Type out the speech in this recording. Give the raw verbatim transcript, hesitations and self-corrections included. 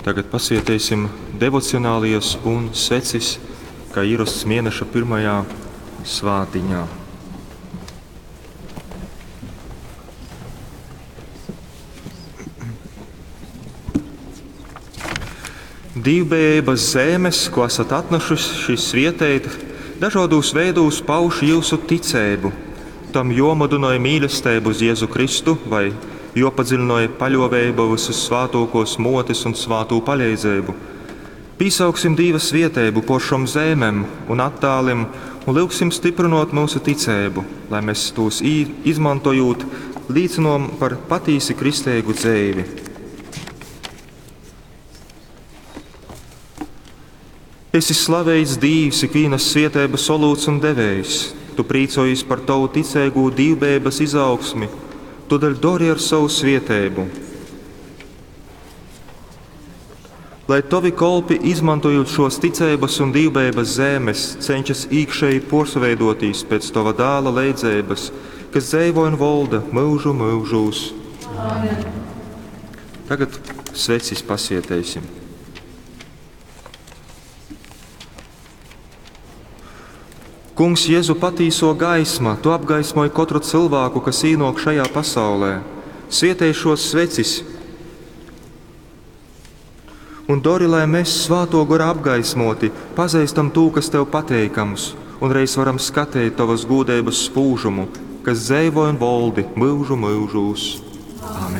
Tagad pasvieteisim devocionālijas un svecis, kā ierasts mēneša pirmajā svātiņā. Dīvbejības zēmes, ko esat atnešuši svieteit, dažādos veidūs pauž jūsu ticēbu. Tam jomudinoj mīlestību uz Jēzu Kristu vai jopadziļinoj paļovēbu visus svātokos motes un svātū paļeidzēbu. Pīsauksim Dīva svietēbu por šom zēmem un attālim un lūgsim stiprinot mūsu ticēbu, lai mēs tos izmantojot līcinom par patīsi kristēgu dzēvi. Esi slaveits Dīvs, ikvīnas svietēbas olūts un devējs. Tu prīcojies par tavu ticēgu dīvbejības izaugsmi, todēļ dori ar savu svietēbu. Lai tavi kolpi, izmantojot šos ticības un dīvbejības zēmes, cenšas īkšēji porsveidotīs pēc tava dāla leidzēbas, kas dzēvo un volda mūžu mūžūs. Amen. Tagad svecis pasieteisim. Kungs, Jēzu patīso gaisma, tu apgaismoji katru cilvēku, kas īnok šajā pasaulē. Svietēj šos svecis un dori, lai mēs svāto gora apgaismoti, pazīstam tū, kas tev pateikams, un reiz varam skatīt tavas gūdības spūžumu, kas dzēvo un voldi mūžu mūžūs. Amen.